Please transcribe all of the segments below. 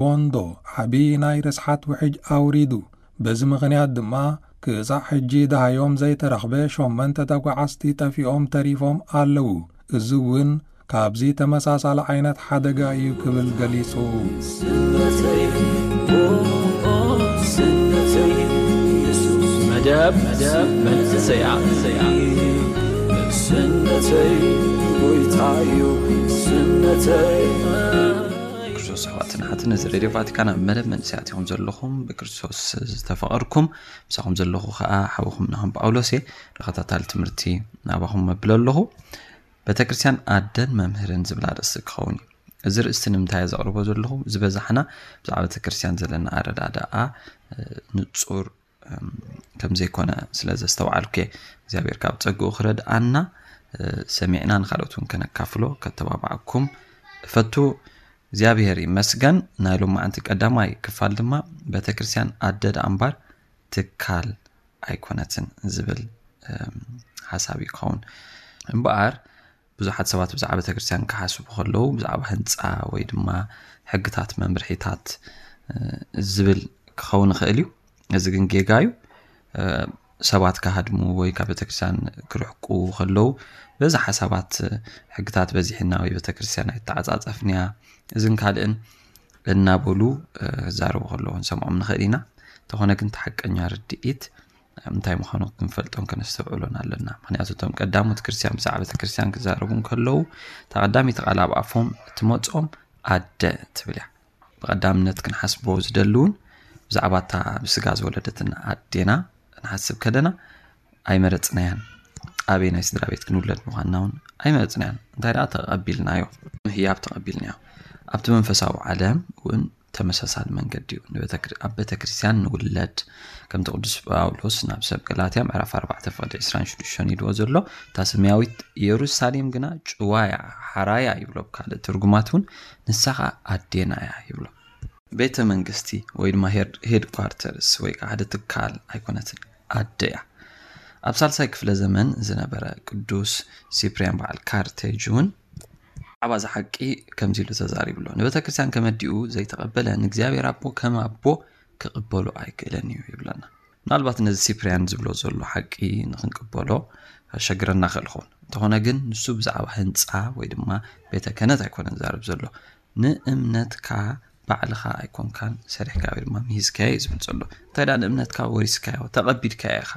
ቦንዶ ዓቢ ናይ ርስሓት ውሕጅ ኣውሪዱ። በዚ ምኽንያት ድማ ክሳዕ ሕጂ ደሃዮም ዘይተረኽበ ሸመንተ ተጓዓዝቲ ጠፊኦም ተሪፎም ኣለዉ። እዚ እውን ካብዚ ተመሳሳሊ ዓይነት ሓደጋ እዩ ክብል ገሊጹ። መደብ መንእሰያ ስነተይ ጎይታዩ ስነተይ ክርስቶስ ኣሕዋትን ሓትን፣ እዚ ሬድዮ ቫቲካን ኣብ መደብ መንእሰያት ኢኹም ዘለኹም። ብክርስቶስ ዝተፈቐርኩም ምሳኹም ዘለኹ ከዓ ሓውኹም ናኹም ጳውሎስ እየ። ተኸታታሊ ትምህርቲ ናባኹም መብል ኣለኹ። ቤተክርስትያን ኣደን መምህርን ዝብል ኣርእስቲ ክኸውን እዩ። እዚ ርእስቲ ንምንታይ እየ ዘቕርቦ ዘለኹ? ዝበዛሕና ብዛዕባ ቤተክርስትያን ዘለና ኣረዳድኣ ንፁር ከም ዘይኮነ ስለ ዘስተውዓልኩ እየ። እግዚኣብሔር ካብ ጸግኡ ክረድኣና ሰሚዕና ንካልኦት እውን ከነካፍሎ ከተባብዓኩም እፈቱ። እግዚኣብሔር ይመስገን። ናይ ሎማዓንቲ ቀዳማይ ክፋል ድማ ቤተክርስትያን ኣደ ደኣ እምበር ትካል ኣይኮነትን ዝብል ሓሳብ እዩ ክኸውን። እምበኣር ብዙሓት ሰባት ብዛዕባ ቤተክርስትያን ክሓስቡ ከለዉ ብዛዕባ ህንፃ ወይ ድማ ሕግታት መምርሒታት ዝብል ክኸውን ይኽእል እዩ። እዚ ግን ጌጋ እዩ። ሰባት ክሃድሙ ወይ ካብ ቤተክርስትያን ክርሕቁ ከለዉ በዚ ሓሳባት ሕግታት በዚሕና ወይ ቤተክርስትያን ኣይተዓፃፀፍንያ እዝን ካልእን እናበሉ ክዛረቡ ከለዉ ክንሰምዖም ንኽእል ኢና። እንተኾነ ግን እቲ ሓቀኛ ርድኢት እንታይ ምዃኑ ክንፈልጦን ከነስተውዕሎን ኣለና። ምክንያቱ እቶም ቀዳሞት ክርስትያን ብዛዕባ ቤተክርስትያን ክዛረቡ እንከለዉ እታ ቀዳመይቲ ቃል ኣብ ኣፎም እትመፅኦም ኣደ ትብል እያ። ብቐዳምነት ክንሓስቦ ዝደሊ እውን ብዛዕባ እታ ብስጋ ዝወለደትና ኣዴና ክንሓስብ ከለና ኣይመረፅናያን። ኣበይ ናይ ስድራ ቤት ክንውለድ ምዃንና እውን ኣይመረፅናያን። እንታይ ደኣ ተቐቢልናዮ፣ ምህያብ ተቐቢልናዮ። ኣብቲ መንፈሳዊ ዓለም እውን ተመሳሳሊ መንገዲ እዩ። ኣብ ቤተ ክርስቲያን ንውለድ ከምቲ ቅዱስ ጳውሎስ ናብ ሰብ ገላትያ ምዕራፍ ኣርባዕተ ፍቕዲ ዕስራን ሽዱሽተን ኢልዎ ዘሎ እታ ሰማያዊት ኢየሩሳሌም ግና ጭዋያ ሓራያ ይብሎ። ብካልእ ትርጉማት እውን ንሳ ኸዓ ኣዴና እያ ይብሎ። ቤተ መንግስቲ ወይ ድማ ሄድኳርተርስ ወይ ከዓ ሓደ ትካል ኣይኮነትን፣ ኣደ እያ። ኣብ ሳልሳይ ክፍለ ዘመን ዝነበረ ቅዱስ ሲፕርያን በዓል ካርቴጅ እውን ብዛዕባ እዚ ሓቂ ከምዚ ኢሉ ተዛሪቡ ኣሎ። ንቤተ ክርስቲያን ከመዲኡ ዘይተቐበለ ንእግዚኣብሔር ኣቦ ከም ኣቦ ክቕበሎ ኣይክእለን እዩ ይብለና። ምናልባት ነዚ ሲፕርያን ዝብሎ ዘሎ ሓቂ ንክንቅበሎ ከሸግረና ክእል ኸውን። እንተኾነ ግን ንሱ ብዛዕባ ህንፃ ወይ ድማ ቤተ ክህነት ኣይኮነን ዝዛረብ ዘሎ። ንእምነትካ ባዕልኻ ኣይኮንካን ሰሪሕካ ወይ ድማ ምሂዝካዮ እዩ ዝብል ዘሎ። እንታይ ደኣ ንእምነትካ ወሪስካዮ ተቐቢልካዮ ኢኻ።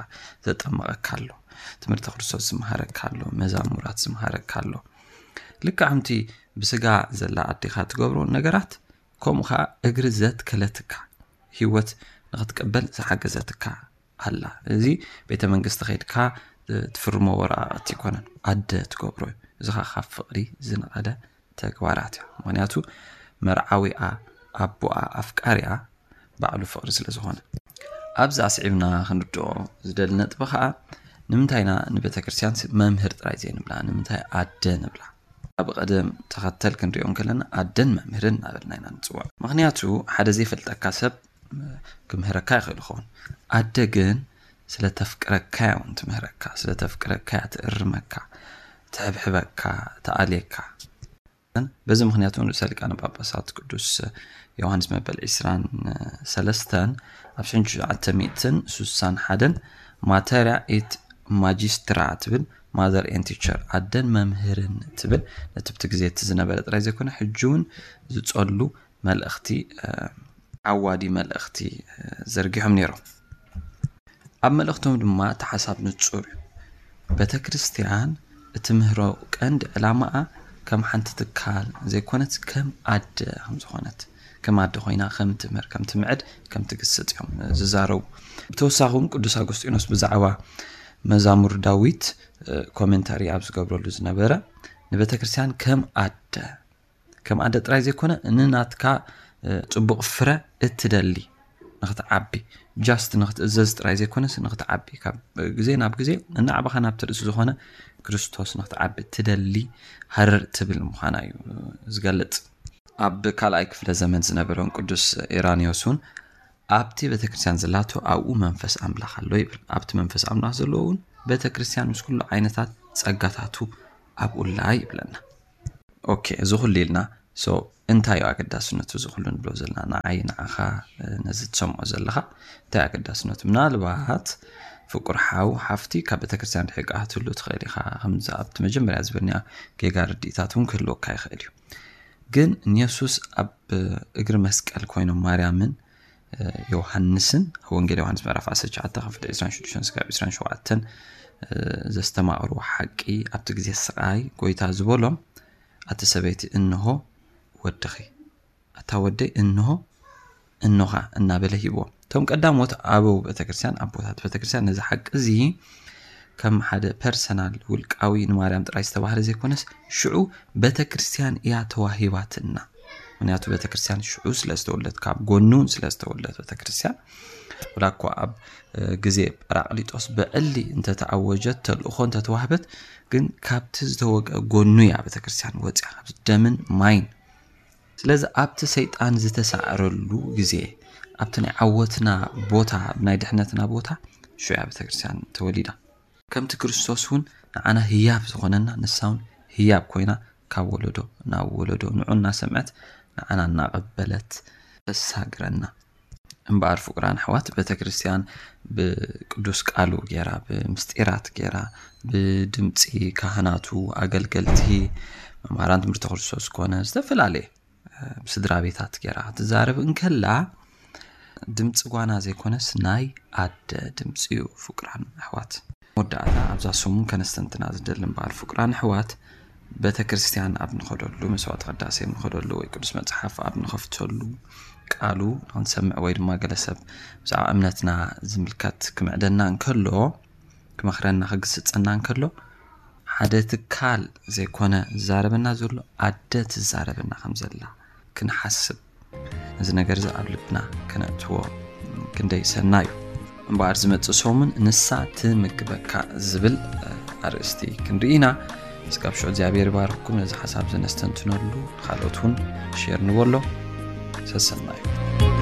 ዘጠመቐካ ኣሎ፣ ትምህርቲ ክርስቶስ ዝመሃረካ ኣሎ፣ መዛሙራት ዝመሃረካ ኣሎ። ልክዕ ከምቲ ብስጋ ዘላ ኣዴኻ ትገብሮ ነገራት ከምኡ ከዓ እግሪ ዘትከለትካ ህይወት ንክትቅበል ዝሓገዘትካ ኣላ። እዚ ቤተ መንግስቲ ከይድካ ትፍርሞ ወረቃቅቲ ይኮነን፣ ኣደ ትገብሮ እዩ። እዚ ከዓ ካብ ፍቅሪ ዝነቐለ ተግባራት እዩ። ምክንያቱ መርዓዊኣ ኣቦኣ ኣፍቃሪኣ ባዕሉ ፍቅሪ ስለ ዝኾነ። ኣብዚ ኣስዒብና ክንርድኦ ዝደሊ ነጥቢ ከዓ ንምንታይ ኢና ንቤተ ክርስቲያን መምህር ጥራይ ዘይንብላ፣ ንምንታይ ኣደ ንብላ? ኣብ ቀደም ተኸተል ክንሪኦ እንከለና ኣደን መምህርን እናበልና ኢና ንፅውዖ። ምክንያቱ ሓደ ዘይፈልጠካ ሰብ ክምህረካ ይኽእል ይኸውን። ኣደ ግን ስለ ተፍቅረካ እያ እውን ትምህረካ፣ ስለ ተፍቅረካ እያ ትእርመካ፣ ትሕብሕበካ፣ ትኣልየካ። በዚ ምክንያት እውን ርእሰ ሊቃነ ጳጳሳት ቅዱስ ዮሃንስ መበል ዕስራን ሰለስተን ኣብ ሽሕን ትሽዓተ ሚእትን ስሳን ሓደን ማተርያ ኤት ማጂስትራ ትብል፣ ማዘር ኤን ቲቸር፣ ኣደን መምህርን ትብል ነቲ ብቲ ግዜ እቲ ዝነበረ ጥራይ ዘይኮነ ሕጂ እውን ዝጸሉ መልእኽቲ፣ ዓዋዲ መልእኽቲ ዘርጊሖም ነይሮም። ኣብ መልእኽቶም ድማ እቲ ሓሳብ ንጹር እዩ። ቤተ ክርስቲያን እትምህሮ ቀንዲ ዕላማኣ ከም ሓንቲ ትካል ዘይኮነት ከም ኣደ ከም ዝኾነት፣ ከም ኣደ ኮይና ከም ትምህር፣ ከም ትምዕድ፣ ከም ትግስጽ እዮም ዝዛረቡ። ብተወሳኺ እውን ቅዱስ ኣጎስጢኖስ ብዛዕባ መዛሙር ዳዊት ኮሜንታሪ ኣብ ዝገብረሉ ዝነበረ ንቤተ ክርስቲያን ከም ኣደ ከም ኣደ ጥራይ ዘይኮነ ንናትካ ጽቡቕ ፍረ እትደሊ ንክትዓቢ፣ ጃስት ንክትእዘዝ ጥራይ ዘይኮነስ ንክትዓቢ፣ ካብ ግዜ ናብ ግዜ እናዕበኻ ናብቲ ርእሲ ዝኾነ ክርስቶስ ንክትዓቢ እትደሊ ሃረር እትብል ምዃና እዩ ዝገልጽ። ኣብ ካልኣይ ክፍለ ዘመን ዝነበረውን ቅዱስ ኢራኒዮስ እውን ኣብቲ ቤተ ክርስቲያን ዘላቶ ኣብኡ መንፈስ ኣምላኽ ኣሎ ይብል። ኣብቲ መንፈስ ኣምላኽ ዘለዎ እውን ቤተ ክርስቲያን ምስ ኩሉ ዓይነታት ጸጋታቱ ኣብኡ ኣላ ይብለና። ኦኬ፣ እዚ ኩሉ ኢልና፣ ሶ እንታይ እዩ ኣገዳስነቱ? እዚ ኩሉ ንብሎ ዘለና ንዓይ ንዓኻ፣ ነዚ ትሰምዖ ዘለኻ እንታይ ኣገዳስነቱ? ምናልባት ፍቁር ሓው ሓፍቲ ካብ ቤተክርስትያን ርሒቃ ክትህሉ ትኽእል ኢኻ። ከምዚ ኣብቲ መጀመርያ ዝበልናዮ ጌጋ ርድኢታት እውን ክህልወካ ይኽእል እዩ። ግን ንየሱስ ኣብ እግሪ መስቀል ኮይኖም ማርያምን ዮሃንስን ኣብ ወንጌል ዮሃንስ ምዕራፍ ዓሰርተ ትሽዓተ ካብ ፍቅዲ ዕስራን ሽዱሽተን ስጋብ ዕስራን ሸውዓተን ዘስተማቕርዎ ሓቂ ኣብቲ ግዜ ስቓይ ጎይታ ዝበሎም ኣቲ ሰበይቲ እንሆ ወድኺ ኣታ ወደይ እንሆ እኖኻ እናበለ ሂብዎም። እቶም ቀዳሞት ኣበው ቤተክርስትያን ኣቦታት ቤተክርስትያን ነዚ ሓቂ እዚ ከም ሓደ ፐርሰናል ውልቃዊ ንማርያም ጥራይ ዝተባህለ ዘይኮነስ ሽዑ ቤተክርስትያን እያ ተዋሂባትና። ምክንያቱ ቤተክርስትያን ሽዑ ስለዝተወለደት ካብ ጎኑን ስለዝተወለደት ቤተክርስትያን ወላ እኳ ኣብ ግዜ ጳራቅሊጦስ ብዕሊ እንተተኣወጀት ተልእኾ እንተተዋህበት ግን ካብቲ ዝተወግአ ጎኑ እያ ቤተክርስትያን ወፅያ ካብዚ ደምን ማይን። ስለዚ ኣብቲ ሰይጣን ዝተሳዕረሉ ግዜ ኣብቲ ናይ ዓወትና ቦታ ናይ ድሕነትና ቦታ ሽዑ እያ ቤተክርስትያን ተወሊዳ። ከምቲ ክርስቶስ እውን ንዓና ህያብ ዝኾነና ንሳ እውን ህያብ ኮይና ካብ ወለዶ ናብ ወለዶ ንዑ እናሰምዐት ንዓና እናቐበለት ተሳግረና። እምበኣር ፍቁራን ኣሕዋት ቤተክርስትያን ብቅዱስ ቃሉ ገይራ ብምስጢራት ገይራ ብድምፂ ካህናቱ ኣገልገልቲ መምሃራን ትምህርቲ ክርስቶስ ኮነ ዝተፈላለየ ስድራ ቤታት ገይራ ክትዛረብ እንከላ ድምፂ ጓና ዘይኮነስ ናይ ኣደ ድምፂ እዩ። ፍቁራን ኣሕዋት መወዳእታ ኣብዛ ሰሙን ከነስተንትና ዝደሊ እምበኣር ፍቁራን ኣሕዋት ቤተ ክርስቲያን ኣብ ንኸደሉ መስዋዕቲ ቅዳሴ ኣብ ንኸደሉ ወይ ቅዱስ መፅሓፍ ኣብ ንኸፍተሉ ቃሉ ንክንሰምዕ ወይ ድማ ገለ ሰብ ብዛዕባ እምነትና ዝምልከት ክምዕደና እንከሎ ክመኽረና ክግስፀና እንከሎ ሓደ ትካል ዘይኮነ ዝዛረበና ዘሎ ኣደ ትዛረበና ከም ዘላ ክንሓስብ ነዚ ነገር እዚ ኣብ ልብና ከነእትዎ ክንደይ ሰናይ እዩ። እምበኣር ዝመፅእ ሰሙን ንሳ ትምግበካ ዝብል ኣርእስቲ ክንርኢ ኢና። እስካብ ሽዑ እግዚኣብሔር ይባርክኩም። ነዚ ሓሳብ እዚ ነስተንትነሉ ካልኦት እውን ሼር ንበሎ። ሰሰናዩ።